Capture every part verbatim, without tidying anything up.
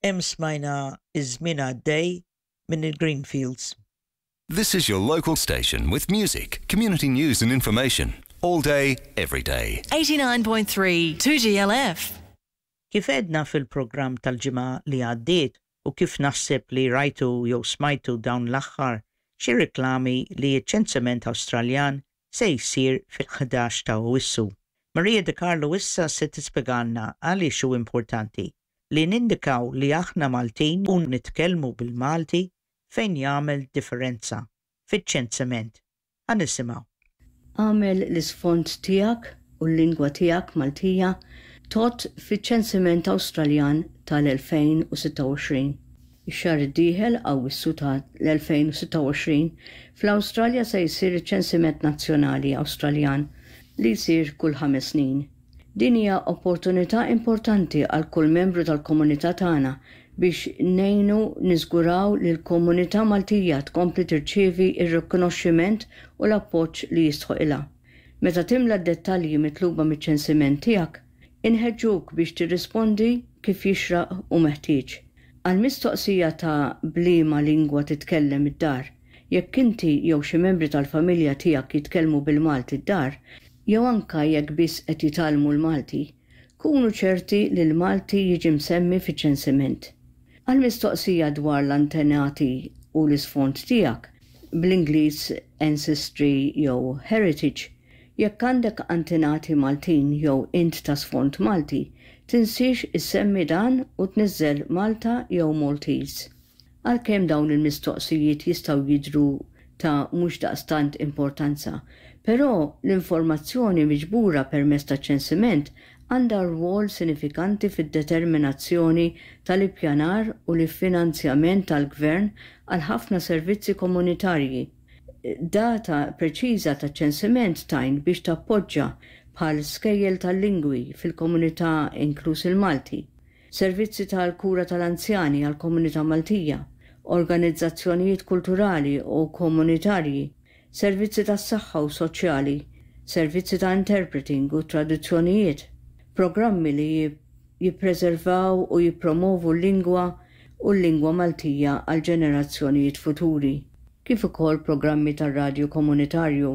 Hemm smajna Iż-Żmien Għaddej minn il-Greenfields. This is your local station with music, community news and information. All day, every day. eighty-nine point three two G L F. Kif għedna fil-programm tal-ġimgħa li għaddiet u kif naħseb li rajtu jew smajtu dawn l-aħħar xi reklami li ċ-ċensiment Awstraljan se jsir fil-ħdax ta' Awwissu. Maria De Carlo issa se tispjegalna għaliex hu importanti li nindikaw li aħna Maltin u nitkellmu bil-Malti fejn jagħmel differenza fiċ-ċensiment. Ħa nisimgħu. Agħmel l-isfond tiegħek u l-lingwa tiegħek Maltija tgħodd fiċ-ċensiment Awstraljan tal-elfejn u sitta u għoxrin. Ix-xahar id-dieħel, Awwissu tal-elfejn u sitta u għoxrin, fl-Awstralja se jsir iċ-ċensiment nazzjonali Awstraljan li jsir kull ħames snin. Din hija opportunità importanti għal kull membru tal-komunità tagħna biex ngħinu niżguraw li l-komunità Maltija tkompli tirċievi ir-rikonoxximent u l-appoġġ li jistħoqilha. Meta timla d-dettalji mitluba miċ-ċensiment tiegħek, inħeġġuk biex tirrispondi kif jixraq u meħtieġ. Għal mistoqsija ta' b'liema lingwa titkellem id-dar, jekk inti jew xi membri tal-familja tiegħek jitkellmu bil-Malti d-dar, jew anka jekk biss qed jitgħallmu l-Malti, kunu ċerti li l-Malti jiġi msemmi fiċ-ċensiment. Għal mistoqsija dwar l-antenati u l-isfond tiegħek, bl-Ingliż ancestry jew heritage, jekk għandek antenati Maltin jew int ta' sfond Malti, tinsiex issemmi dan u tniżżel Malta jew Maltese. Għalkemm dawn il-mistoqsijiet jistgħu jidru ta' mhux daqstant importanza, però l-informazzjoni miġbura permezz ta' ċensiment għandha rwol sinifikanti fid-determinazzjoni tal-ippjanar u l-finanzjament tal-gvern għal ħafna servizzi komunitarji. Data preċiża ta' ċensiment tgħin biex tappoġġa bħal skejjel tal-lingwi fil-komunità, inkluż il-Malti, servizzi tal-kura tal-anzjani għal-komunità Maltija, organizzazzjonijiet kulturali u komunitarji, servizzi tas-saħħa u soċjali, servizzi ta' interpreting u traduzzjonijiet, programmi li jippreservaw u jippromovu l-lingwa u l-lingwa Maltija għal ġenerazzjonijiet futuri, kif ukoll programmi tar-radju komunitarju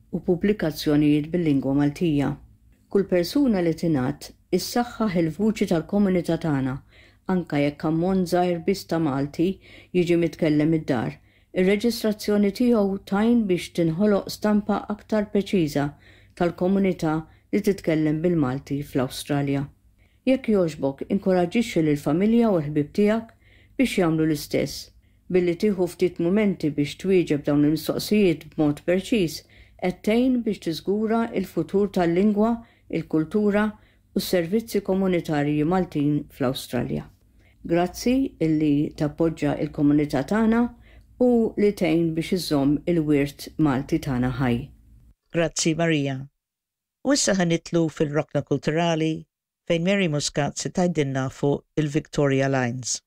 u pubblikazzjonijiet bil-lingwa Maltija. Kull persuna li tingħadd issaħħaħ il-vuċi tal-komunità tagħna, anka jekk ammont żgħir biss ta' Malti jiġi mitkellem id-dar. Ir-reġistrazzjoni tiegħu tgħin biex tinħoloq stampa aktar preċiża tal-komunità li titkellem bil-Malti fl-Awstralja. Jekk jogħġbok, inkoraġġixxi lill-familja u l-ħbib tiegħek biex jagħmlu l-istess. Billi tieħu ftit mumenti biex twieġeb dawn il-mistoqsijiet b'mod preċiż, qed tgħin biex tiżgura il-futur tal-lingwa, il-kultura u s-servizzi komunitarji Maltin fl-Awstralja. Grazzi illi tappoġġa il-komunità tagħna u li tgħin biex iżomm il-wirt Malti tagħna ħaj. Grazzi, Maria. U issa ħa nidħlu fil-rokna kulturali fejn Mary Muscat se tgħidilna fuq il-Victoria Lines.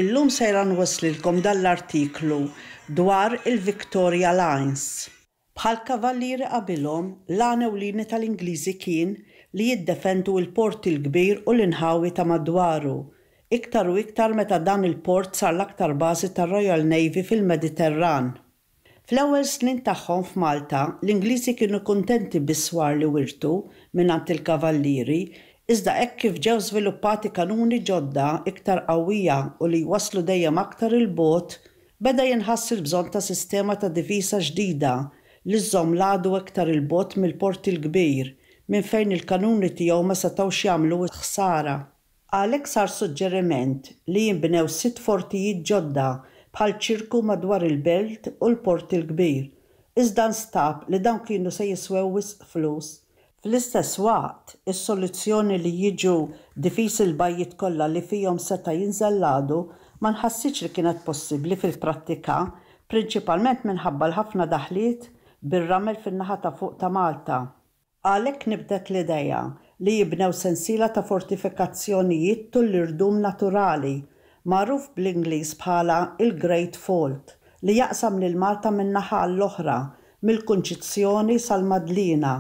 Illum sejra nwasslilkom dal-artiklu dwar il-Victoria Lines. Bħal kavallieri qabilhom, l-għan ewlieni tal-Ingliżi kien li jiddefendu il-Port il-Kbir u l-inħawi ta' madwaru, iktar u iktar meta dan il-port sar l-aktar bażi tar-Royal Navy fil-Mediterran. Fl-ewwel snin tagħhom f'Malta, l-Ingliżi kienu kuntenti bis-swar li wirtu mingħand il-kavallieri, iżda hekk kif ġew żviluppati kanuni ġodda iktar qawwija u li waslu dejjem aktar il-bogħod, beda jinħass il-bżonn ta' sistema ta' difiża ġdida li żżomm l-għadu iktar il-bogħod mill-Port il-Kbir, minn fejn il-kanuni tiegħu ma setgħux jagħmlu ħsara. Għalhekk sar suġġeriment li jinbnew sitt fortijiet ġodda bħal ċirku madwar il-belt u l-Port il-Kbir. Iżda nstab li dawn kienu se jiswew wisq flus. Fl-istess waqt, is-soluzzjoni li jiġu difiżi l-bajjiet kollha li fihom seta' jinżel l-għadu ma nħassitx li kienet possibbli fil-prattika, prinċipalment minħabba l-ħafna daħliet bir-ramel fin-naħa ta' fuq ta' Malta. Għalhekk nibtet l-idea li jibnew sensiela ta' fortifikazzjonijiet tul l-irdum naturali, magħruf bl-Ingliż bħala il-Great Fault, li jaqsam lil Malta minn naħa għall-oħra, mill-Kunċizzjoni sal-Madlina.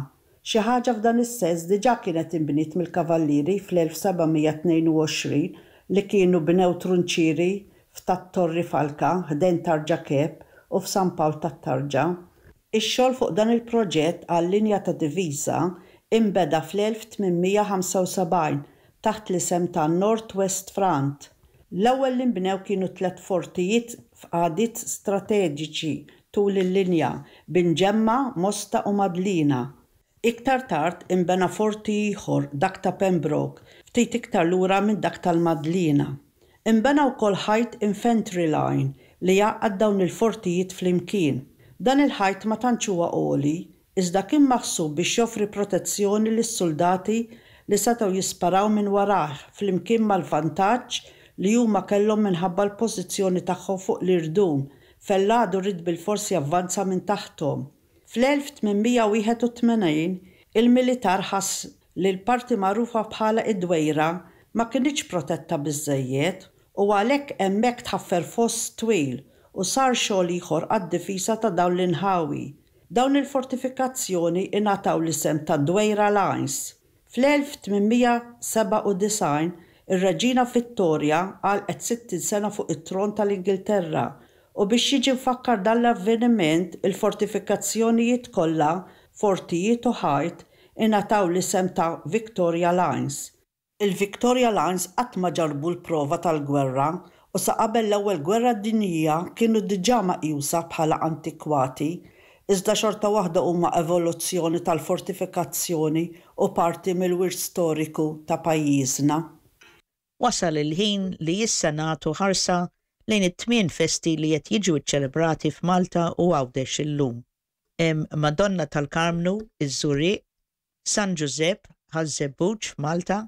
Xi ħaġa f'dan is-sens diġà kienet inbniet mill-Kavallieri fl-elf seba' mija tnejn u għoxrin li kienu bnew trunċieri f'Tat-Torri Falka ħdejn Tarġa Kep u f'San Pawl tat-Tarġa. Ix-xogħol fuq dan il-proġett għal-linja ta' difiża inbeda fl-elf tmien mija ħamsa u sebgħin taħt l-isem ta' North West Front. L-ewwel li nbnew kienu tliet fortijiet f'qagħdiet strateġiċi tul il-linja, Binġemma, Mosta u Madlina. Iktar tard inbena forti ieħor, dak ta' Pembroke, ftit iktar lura minn dak tal-Madlina. Inbena wkoll ħajt infantry line li jgħaqqad dawn il-fortijiet flimkien. Dan il-ħajt ma tantx huwa għoli, iżda kien maħsub biex joffri protezzjoni lis-suldati li setgħu jisparaw minn warajh flimkien mal-vantaġġ li huma kellhom minħabba l-pożizzjoni tagħhom fuq l-irdum fejn l-għadu ried bilfors javvanza minn taħthom. Fl-elf tmien mija wieħed u tmenin, il-militar ħass li l-parti magħrufa bħala id-Dwejra ma kinitx protetta biżżejjed u għalhekk hemmhekk tħaffer foss twil u sar xogħol ieħor għad-difiża ta' dawn l-inħawi. Dawn il-fortifikazzjoni ingħataw l-isem ta' Dwejra Lines. Fl-elf tmien mija sebgħa u disgħin, ir-Reġina Vittoria għalqet sittin sena fuq it-tron tal-Ingilterra u biex jiġi mfakkar dan l-avveniment, il-fortifikazzjonijiet kollha, fortijiet u ħajt, ingħataw l-isem ta' Victoria Lines. Il-Victoria Lines qatt ma ġarrbu l-prova tal-gwerra u sa qabel l-Ewwel Gwerra Dinjija kienu diġà meqjusa bħala antikwati, iżda xorta waħda huma evoluzzjoni tal-fortifikazzjoni u parti mill-wirt storiku ta' pajjiżna. Wasal il-ħin li issa nagħtu ħarsa lejn it-tmien festi li qed jiġu ċċelebrati f'Malta u Għawdex illum. Hemm Madonna tal-Karmnu, iż-Żurrieq, San Ġużepp, Ħaż-Żebbuġ f'Malta,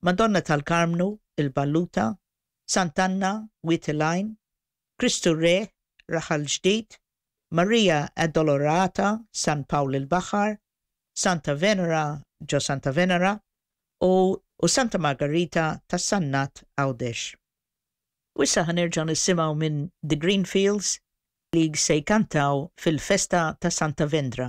Madonna tal-Karmnu, il-Balluta, Sant'Anna, Wied il-Għajn, Kristu Re, Raħal Ġdid, Maria Addolorata, San Pawl il-Baħar, Santa Venera, ġo Santa Venera, u, u Santa Margarita ta' Sannat Għawdex. U issa ħa nerġgħu nisimgħu minn The Greenfields li se jkantaw fil-festa ta' Santa Vendra.